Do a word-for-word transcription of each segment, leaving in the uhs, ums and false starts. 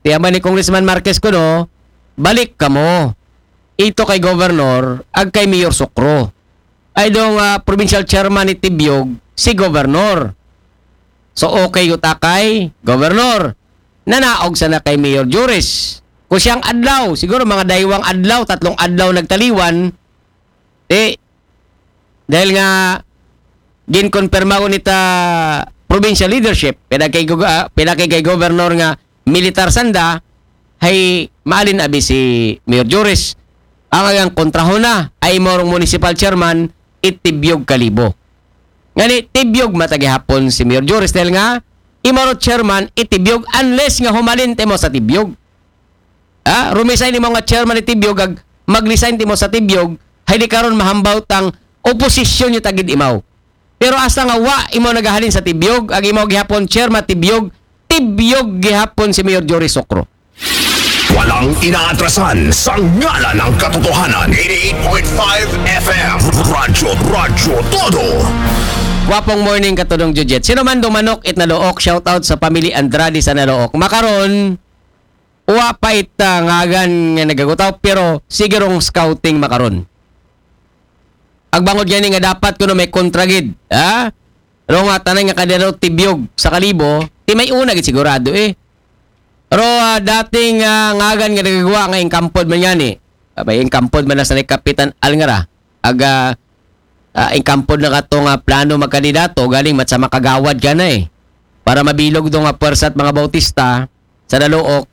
Ti amo ni Congressman Marquez kuno, balik kamo. Ito kay Governor, ag kay Mayor Sokro. Ay dong, ah, provincial chairman ni Tibiog, si Governor. So, okay yuta kay Governor. Nanaog sana kay Mayor Joris. Kung siyang adlaw, siguro mga daywang adlaw, tatlong adlaw nagtaliwan, eh, dahil nga ginkonfirma ko nita provincial leadership, pila kay, gu- ah, pila kay, kay governor nga militar sanda, hay maalin abi si Mayor Joris. Ang agang kontrahon na, ay imo rong municipal chairman, i Tibiog Kalibo. Ngani, Tibiog mata gihapon si Mayor Joris dahil nga, imo ro chairman, i Tibiog, unless nga humalin timo sa Tibiog. Ha? Rumisign imo nga chairman ni Tibiog, ag mag-resign timo sa Tibiog, hay di karon mahambaw tang oposisyon niyo tagid imaw. Pero hasta nga wa imo nagahalin sa Tibiog, ag imo gihapon chairman Tibiog, Tibiog gihapon si Mayor Jory Sokro. Walang inaatrasan sa ngalan ng katotohanan. Eighty-eight point five F M. Radyo, Radyo Todo. Wapong morning, Katodong Jujet. Sino man dumanok it Nalook, shout out sa pamilya Andrade sa Nalook. Makaron, wa pa it, ah, ngagan nga nagagutaw, pero sige rong scouting makaron. Agbangod gani nga dapat kuno may kontra gid, ha? Ro nga tanan nga kadero Tibiog sa Kalibo, ti may una gid sigurado eh. Ro, ah, dating, ah, ngagan nga nagagawa nga ingkampod man gani. Abay, ingkampod man na sa ni Kapitan Al nga ra. Aga, ah, ingkampod na kato nga plano magkandidato, galing mat sa makagawad ka na eh. Para mabilog do nga pwersa at mga Bautista sa Nalook,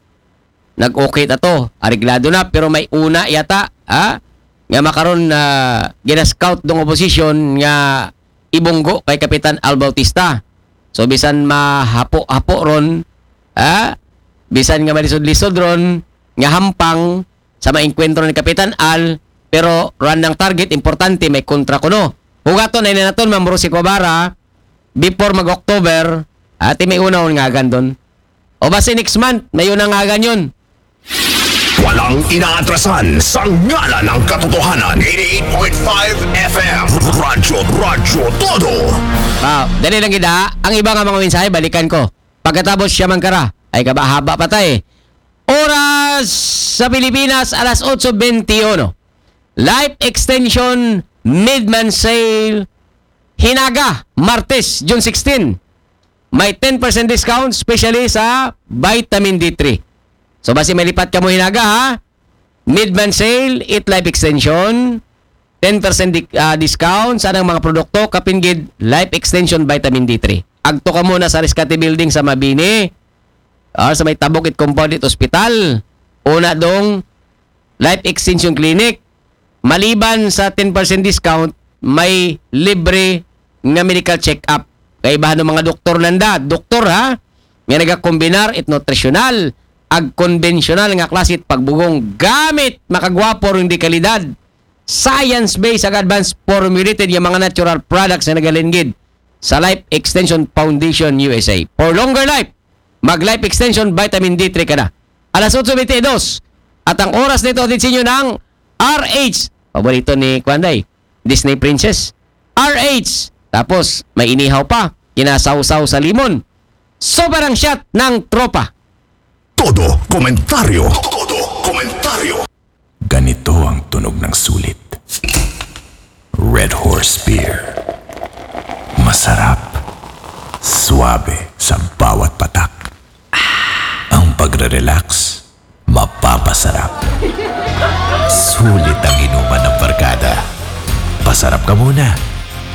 nag-okay ta to. Areglado na, pero may una yata, ha? Nga makaron na gina-scout dong oposisyon nga ibunggo kay Kapitan Al Bautista. So, bisan mahapo-hapo ron, ha? Bisan nga malisod-lisod ron, nga hampang sa maengkwentro ni Kapitan Al, pero run ng target, importante, may kontra kuno. Hugaton ay naton, Ma'am Rosie Cuabara, before mag-October, ati may una on ngagan doon. O basi next month, may una ngagan yun. Walang inaatrasan sa ngalan ng katotohanan. Eighty-eight point five F M. Radyo, Radyo Todo. Ah, dali lang gid, ha. Ang iba nga mga mensahe, balikan ko. Pagkatapos siya man kara, ay kaba haba pa tay. Oras sa Pilipinas, alas otso bentiuno. Life Extension Midman Sale, Hinaga, Martes, June sixteen. May ten percent discount, especially sa vitamin D three. So, basi malipat ka mo Hinaga, ha? Midman Sale, Eat Life Extension, ten percent di- ah, discount sa anang mga produkto, kapin gid Life Extension Vitamin D three. Agto ka muna sa Rescate Building sa Mabini, or sa may Tabok it Compound it Hospital. Una dong Life Extension Clinic. Maliban sa ten percent discount, may libre nga medical check-up. Kay ibahan ng mga doktor nanda, doktor ha, nga nagakombinar it nutritional, ag konbensyonal nga klase it pagbugong gamit makagwapo ring di kalidad, science-based ag advanced formulated nga mga natural products nga nagalingid sa Life Extension Foundation U S A. For longer life, mag Life Extension Vitamin D three ka na. Alas otso bentidos. At ang oras nito, hatid sa inyo ng R H. Paborito ni Kwanday, Disney Princess. R H. Tapos, may inihaw pa. Kinasawsaw sa limon. Sobrang shot ng tropa. Todo komentaryo. Todo komentaryo. Ganito ang tunog ng sulit. Red Horse Beer. Masarap. Suabe sa bawat patak. Ang pagre-relax, mapapasarap. Sulit ang inuman ng barkada. Pasarap ka muna.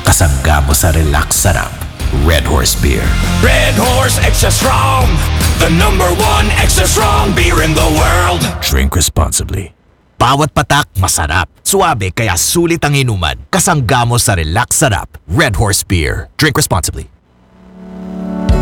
Kasangga mo sa relax sarap. Red Horse Beer. Red Horse Extra Strong, the number one extra strong beer in the world. Drink responsibly. Bawat patak masarap. Suabe kaya sulit ang inuman. Kasangga mo sa relax sarap. Red Horse Beer. Drink responsibly.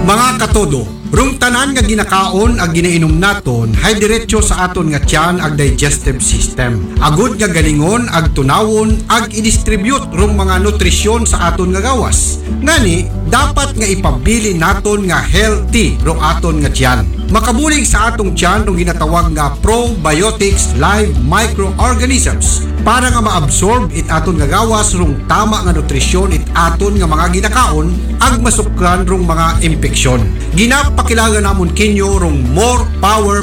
Mga katodo, rung tanan nga ginakaon ag ginainom naton hay diretso sa aton nga tiyan ag digestive system. Agud nga galingon ag tunawon ag i-distribute rung mga nutrisyon sa aton nga gawas. Ngani, dapat nga ipabilin naton nga healthy rung aton nga tiyan. Makabulig sa atong tiyan rung ginatawag nga probiotics live microorganisms para nga maabsorb it aton nga gawas rung tama nga nutrisyon it aton nga mga ginakaon ag masukran rung mga impeksyon. Ginapakilala namon kinyo rung More Power